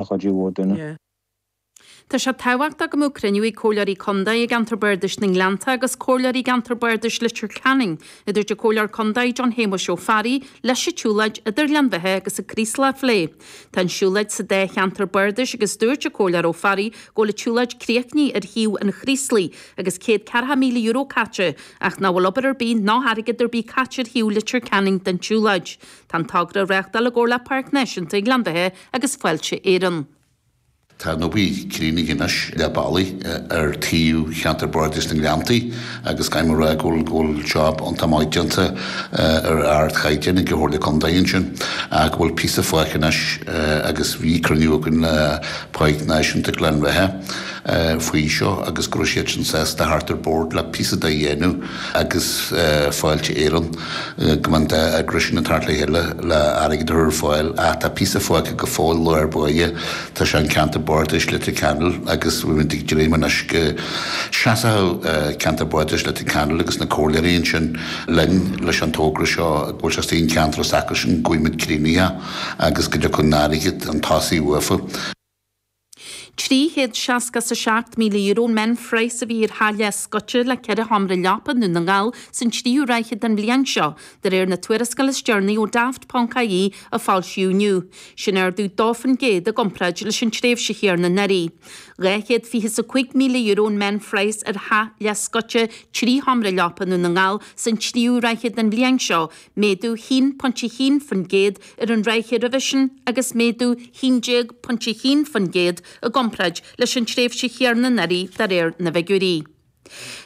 chuidiú ó dhuine. Tá sé tábhachtach go mbeadh cruinniú ag Comhairleoirí Contae i gceantar Bardais na nGleannta agus Comhairleoirí i gceantar Bardais Leitir Ceanainn, a dúirt an Comhairleoir Contae John Shéamuis Ó Fearraigh, leis an tsiúlóid idir Ghleann Bheatha agus an Craoslach a phlé. Tá an siúlóid sa dá cheantar bardais agus dúirt an Comhairleoir Ó Fearraigh go bhfuil an tsiúlóid críochnaithe ar thaobh an Chraoslaigh agus €140,000 caite ach nach bhfuil obair ar bith ná airgead ar bith caite ar thaobh Leitir Ceanainn den tsiúlóid. Tá an togra á reáchtáil i gcomhar le Páirc Náisiúnta Ghleann Bheatha agus Fáilte Éireann. Tá an obair críochnaithe anois leath bealaigh ar taobh cheantar Bardais na nGleanntaí agus caithfidh mé a rá go bhfuil go bhfuil job iontach maith déanta ar ardchaighdeán ag an Chomhairle Contae ansin ach go bhfuil píosa fágtha anois agus bhí cruinniú againn le Páirc Náisiúnta Ghleann Bheatha faoi seo agus go raibh siadsan sásta theacht ar bord le píosa de a dhéanamh agus Fáilte Éireann go mbeadh an dá eagras sin ag teacht le chéile le airgead a chur ar fáil ach tá píosa fágtha go fóill lár báire, tá sé an ceantar bardais Leitir Ceanainn agus bhí muid ag dréim anois go seasfadh ceantar bardais Leitir Ceanainn agus na comhairleoirí ansin linn leis an togra seo go bhfuil sé istigh an ceantar s'acusan go bhfaighidh muid críochnaithe agus go dtiocfaidh an airgead chun tosaigh uafa. €367,000 an meánphraghas a bhí ar theach leathscoite le 4 sheomra leapa i nDún na nGall san tríú ráithe den bhliain seo, de réir na tuarascála is deireanaí ó Daft.ie a foilsíodh inniu. Sin ardú 2% i gcomparáid leis an tréimhse chéanna anuraidh. €225,000 an meánphraghas ar theach leathscoite 3 sheomra leapa i nDún na nGall san tríú ráithe den bhliain seo, méadú 1.1% ar an ráithe roimhe sin agus méadú 11.1% i gcomparáid leis an tréimhse chéanna anuraidh de réir na bhfigiúirí.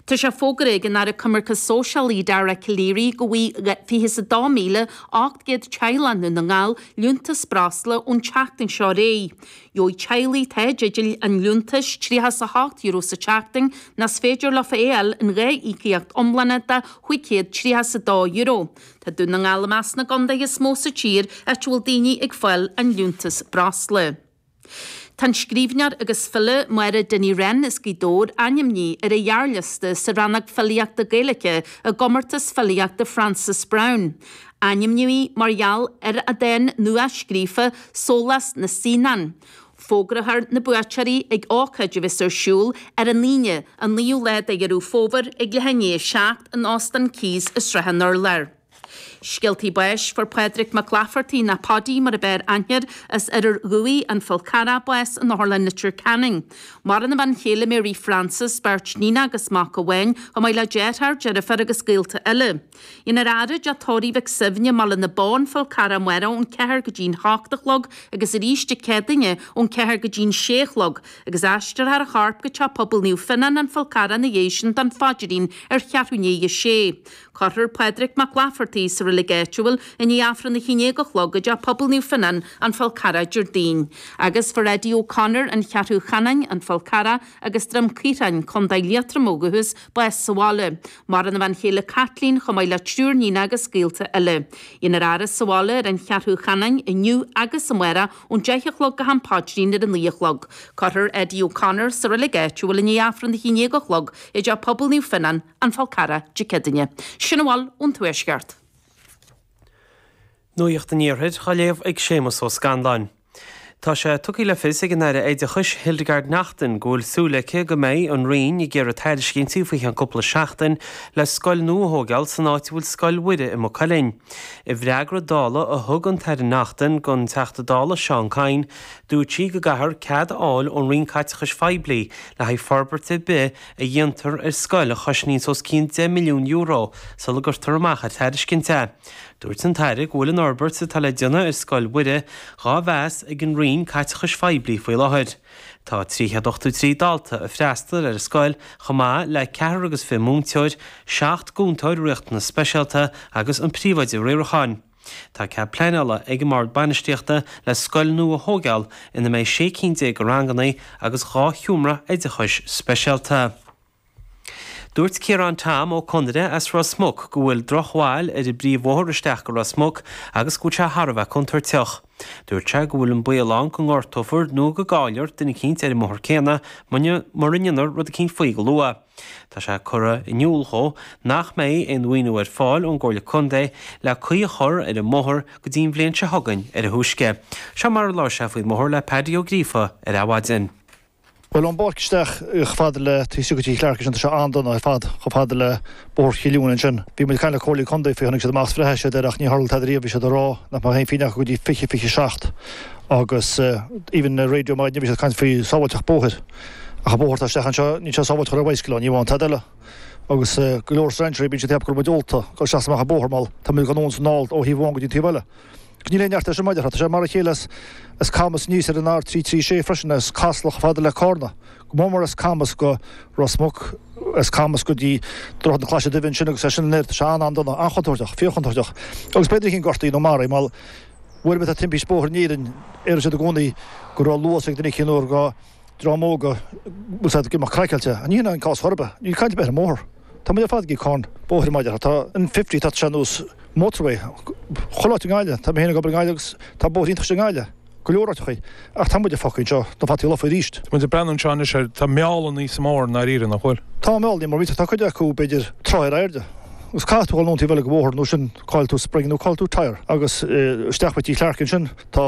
Tá sé fógartha ag an Aire Coimirce Sóisialaí Dara Calleary go bhfaighidh 22,800 teaghlach i nDún na nGall liúntas breosla ón tseachtain seo ar aghaidh. Gheobhaidh teaghlaigh atá i dteideal an liúntais €38 sa tseachtain nó is féidir leo é a fháil in 2 íocaíocht iomlána de €532. Tá Dún na nGall i measc na gcontaetha is mó sa tír áit a bhfuil daoine ag fáil an liúntas breosla. Tá an scríbhneoir agus file Máire Dinny Wren as Gaoth Dobhair ainmnithe ar an ghearrliosta sa rannóg filíochta Gaeilge i gComórtas Filíochta Frances Browne. Ainmníodh í mar gheall ar a dán nua-scríofa Sólás na Saíonán. Fógrófar na buaiteoirí ag ócáid a bheas ar siúl ar an Aoine, an 9ú lá de Dheireadh Fómhair ag leath i ndiaidh 7 in Óstán Keys i Srath an Urláir. Scéaltaí báis, Fuair Pádraig Mac Laifeartaigh, nó Paudie mar a b'fhearr aithne air, as Oirear Dhuibhigh, An Fál Carrach, bás in Otharlann Leitir Ceanainn. Maireann a bhean chéile Mary Frances, beirt níonacha agus mac amháin, chomh maith le deartháir, deirfiúr agus gaolta eile. Déanfar a fhaire i dTeach Tórraimh Mhic Suibhne i mBaile na Bó, An Fál Carrach amárach ón 4 go dtí'n 8 a chlog agus arís Dé Céadaoine ón 4 go dtí'n 6 a chlog agus aistreofar a chorp go Teach Pobail Naomh Fionnán, An Fál Carrach ina dhiaidh sin don phaidrín ar cheathrú i ndiaidh a sé. Cuirfear Pádraig Mac Laifeartaigh sa reilig áitiúil i ndiaidh Aifreann a haon déag a chlog i dTeach Pobail Naomh Fionnán, An Fál Carrach Déardaoin. Agus fuair Eddie O'Connor, An Cheathrú Chanáin, An Fál Carrach agus Droim Caothráin, Co. Liatroma ó dhúchas, bás sa bhaile. Maireann a bhean chéile Caitlín chomh maith le triúr níonacha agus gaolta eile. Déanfar a fhaire sa bhaile ar an Cheathrú Chanáin inniu agus amárach ón 10 a chlog go ham paidrín ar a 9 a chlog. Cuirfear Eddie O'Connor sa reilig áitiúil i ndiaidh Aifreann a haon déag a chlog i dTeach Pobail Naomh Fionnán, An Fál Carrach, Dé Céadaoine. Sin a bhfuil ón Tuaisceart. Nuacht an Iarthair á léamh ag Séamus Ó Scanláin. Tá sé tugtha le fios ag an Aire Oideachais Hildegarde Naughton go bhfuil súil aici go mbeidh an Roinn ag iarraidh tairiscintí faoi cheann cúpla seachtain le scoil nua a thóigeáil san áit a bhfuil Scoil Mhuire i Maigh Cuilinn. I bhfreagra Dála a thug an tAire Naughton don Teachta Dála Seán Kyne, dúirt sí go gcaithfear cead a fháil ón Roinn Caiteachais Phoiblí le haghaidh forbairt ar bith a dhéantar ar scoil a chosnaíonns os cionn €10 milliún sula gcuirtear amach ar tairiscint é. Dúirt an tAire go bhfuil an fhorbairt atá le déanamh ar Scoil Mhuire dhá mheas ag an Roinn Caiteachais Phoiblí faoi láthair. Tá 383 dalta ag freastal ar an scoil chomh maith le ceathrar agus 20 múinteoir, 7 gcúntóir riachtanas speisialta agus an príomhoide riaracháin. Tá cead pleanála ag an mBord Bainistíochta le scoil nua a thóigeáil ina mbeidh 16 cinn de ranganna agus 2 sheomra oideachais speisialta. Dúirt Ciarán Tom Ó Conaire as Ros Muc go bhfuil drochbhail ar an bpríomhbhóthar isteach go Ros Muc agus go bhfuil sé thar a bheith contúirteach. Dúirt sé go bhfuil an baol ann go ngortófar nó go gcaillfear duine eicínt ar an mbóthar céanna mura ndéanfar rud eicínt faoi go luath. Tá sé curtha in iúl dhó nach mbeidh aon mhaoiniú ar fáil ón gComhairle Contae le caoi a chur ar an mbóthar go dtí an bhliain seo chugainn ar a thúisce. Seo mar a labhair sé faoin mbóthar le Paddy Ó Gríofa ar Adhmhaidin. Bhuel, ón bpáirc isteach chomh fada le taobh istigh de Tigh Chlarke ansin, tá sé an-dona ar fad, chomh fada le Bóthar Chill Eoin ansin. Bhí muid ag caint le Comhairle Contae faoi, tháinig siad amach is bhreathnaigh siad air ach ní tharla tada riamh, bhí siad ag rá nach mbeadh aon phingin acu go dtí 2027 agus even ar raidió maidin bhí siad ag caint faoi sábháilteacht bóthair ach an bóthar atá isteach anseo níl sé sábháilte chun bicycle ann, ní amháin tada eile. Agus go leor strainséirí bíonn siad ag ceapadh go bhfuil muid ólta, dul isteach is amach an bóthar mar tá muid ag anonn is anall ó thaobh amháin go dtí an taobh eile. Níl aon neart air sin, mar a déarfá. Tá sé mar a chéile as Camas aníos ar an R336 freisin, as Casla chomh fada le Cárna. Go mór mór as Camas go Ros Muc, as Camas go dtí Droichead na Claise Duibhe ansin agus as sin anoir. Tá sé an-an-dona, an-chontúirteach, fíorchontúirteach. Agus b'fhéidir duine eicínt gortaithe nó maraithe, mar uair ar bith atá timpiste bóthair in Éirinn, déarfaidh siad i gcónaí go raibh luas ag duine eicínt nó go dream óg a bhfuil siad ag imeacht craiceáilte. Ní hin an cás chor ar bith. Níl caint ar bith ar an mbóthar. Tá muid ar fad ag íoc cáin bóthair mar a déarfá. Tá an 50, tá sé ar nós motorway. Chuile áit i nGaillimh. Tá mé féin ag obair i nGaillimh agus tá bóithre iontacha i nGaillimh. Go leor áiteachaí. Ach tá muid ag fágáil anseo na fataí lofa arís. Tá muid ag breathnú anseo anois ar, tá meallannaí sa mbóthar i ndáiríre, nach bhfuil? Tá meallannaí mar tá cuid acu b'fhéidir troigh ar airde. Agus caithfidh tú dhul anonn taobh eile den bhóthar nó sin caillfidh tú spring nó caillfidh tú tyre. Agus isteach faoi Tigh Chlarke ansin tá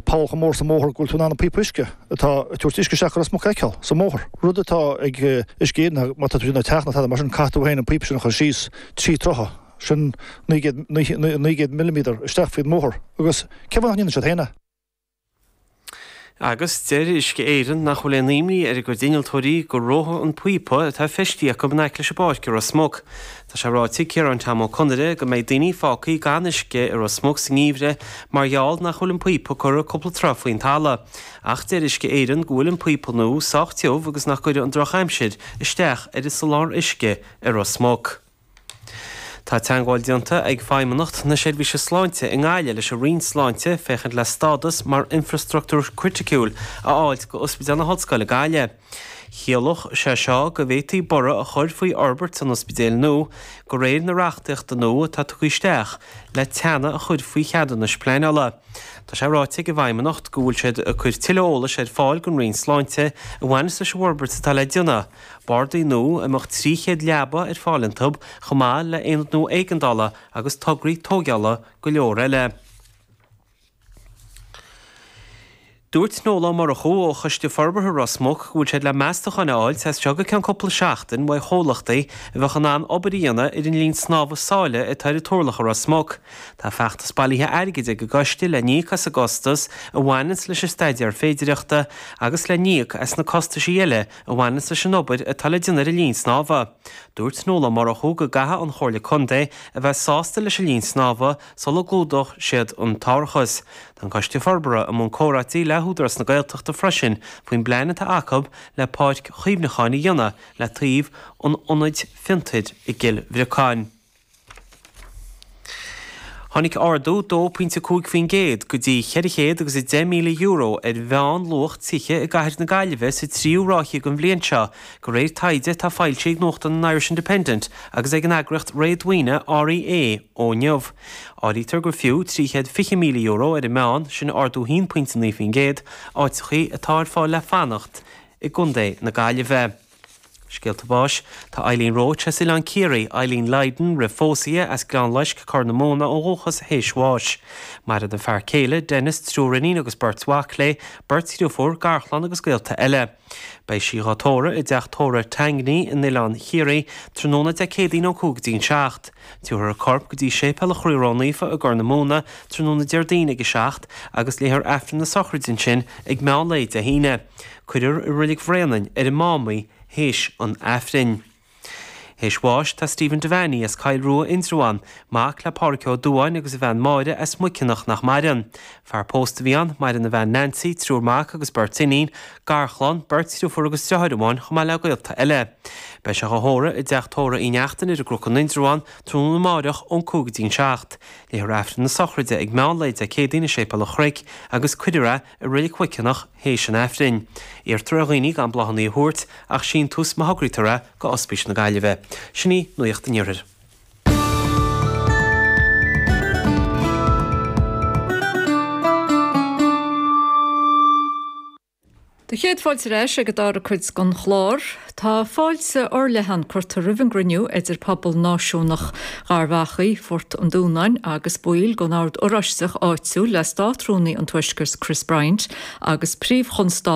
poll chomh mór sa mbóthar go bhfuil tú in ann an píopa uisce atá ag tabhairt uisce isteach go Ros Muc a fheiceáil sa mbóthar. Rud atá ag Uisce Éireann má tá tú ag déanamh teach nó tada mar sin caithfidh tú féin an píopa sin a chur síos 3 troithe, sin 900, 900 milliméadar isteach faoin mbóthar agus cén fáth nach ndéanann siad féin é? Agus deir Uisce Éireann nach bhfuil aon imní ar a gcuid innealtóirí go reofaidh an píopa atá feistithe acu in aice leis an bpáirc i Ros Muc. Tá sé ráite ag Ciarán Tom Ó Conaire go mbeidh daoine fágtha gan uisce i Ros Muc sa ngeimhreadh mar gheall nach bhfuil an píopa curtha cúpla troigh faoin talamh. Ach deir Uisce Éireann go bhfuil an píopa nua sách tiubh agus nach gcuirfidh an drochaimsir isteach ar an soláthar uisce i Ros Muc. Tá teagmháil déanta ag Feidhmeannacht na Seirbhíse Sláinte i nGaillimh leis an Roinn Sláinte féachaint le stádas mar infreastruchtúr criticiúil a fháilt go Ospidéal na hOllscoile Gaillimh. Chiallódh sé seo go bhféadfaí borradh a chur faoi fhorbairt an ospidéil nua de réir na reachtaíochta nua atá tugtha isteach le teannadh a chur faoi cheadúnais pleanála. Tá sé ráite ag an bhFeidhmeannacht go bhfuil siad ag cur tuilleadh eolais ar fáil don Roinn Sláinte a bhaineas leis an bhforbairt atá le déanamh, bardaí nua a mbeadh 300 leaba ar fáil iontu, chomh maith le haonad nua éigeandála agus tograí tóigeála go leor eile. Dúirt Noel Ó Murchú ó Choiste Forbartha Ros Muc go bhfuil siad le meastacháin a fháilt as seo go ceann cúpla seachtain uaidh chomhlachtaí a bheadh in ann obair a dhéanamh ar an linn snámha sáile atá ar an Turlach i Ros Muc. Tá feachtas bailithe airgid ag an gcoiste le n-íoc as an gcostas a bhaineanns leis an staidéar féidireachta agus le n-íoc as na costaisí eile a bhaineanns leis an obair atá le déanamh ar an linn snámha. Dúirt Noel Ó Murchú go gcaithfidh an Chomhairle Contae a bheith sásta leis an linn snámha sula gclúdódh siad an t-árachas. Tá an Coiste Forbartha i mbun comhráití le hÚdarás na Gaeltachta freisin faoin bplean atá acu le páirc chuimhneacháin a dhéanamh le taobh an ionaid fiontair i gCill Bhriocáin. Tháinig ardú 2.5% go dtí €410,000 ar mheánluach tithe i gcathair na Gaillimhe sa tríú ráithe den bhliain seo, de réir taighde atá foilsithe ag nuachtán an Irish Independent agus ag an eagraíocht réadmhaoine REA ó inniu. Áirítear gur fiú €320,000 ar an meán, sin ardú 1.9%, áiteachaí atá ar fáil le fanacht i gContae na Gaillimhe. Scéalta báis, Tá Eileen Roche as Oileán Ciarraí, Eileen Lydon roimh phósadh di, as Gleann Loisc, Corr na Móna ó dhúchas, théis bháis. Maireann a fear céile, Denis, triúr iníon agus beirt mhac léi, beirt dhriofúr, garchlann agus gaolta eile. Beidh sí dhá tórramh i dteach tórraimh Tangney in Oileán Chiarraí tráthnóna Dé Céadaoin ón 5 go dtí an 7. Tabharfar a corp go dtí Séipéal an Chroí Ró-Naofa i gCorr na Móna tráthnóna Déardaoin ag a 7 agus léifear Aifreann na sochraide ansin ag meán lae Dé hAoine. Cuirfear i Reilig Bhréanainn ar an Mám í théis an Aifrinn. Théis bháis tá Stephen Devaney as Coill Rua, Indreabhán, mac le Pádhraic Ó Dubháin agus a bhean Máire as Muiceanach nach maireann. Fear pósta a bhí ann, maireann a bhean Nancy, triúr mac agus beirt iníon, garchlann, beirt dhriofúr agus driotháir amháin chomh maith le gaolta eile. Beidh sé dhá thórramh i dteach tórraimh Uí Neachtain ar an gCnoc in Indreabhán tráthnóna amáireach ón 5 go dtí an 7. Léifear Aifreann na sochraide ag meán lae Dé Céadaoin i Séipéal an Chnoic agus cuirfear é i Reilig Mhuiceanach théis an Aifrinn. Iarrtar ar dhaoine gan bláthanna a thabhairt ach síntiús má thograítear é go Ospís na Gaillimhe. Sin í Nuacht an Iarthair. Do chéad fáilte ar ais ag an dara cuid den chlár. Tá fáilte fhorleathan curtha roimh an gcruinniú idir pobal náisiúnach Gharbh Achaidh, Phort an Dúnáin agus baill den Ord Oráisteach áitiúil le Státrúnaí an Tuaiscirt Chris Bryant agus Príomh-Chonstábla.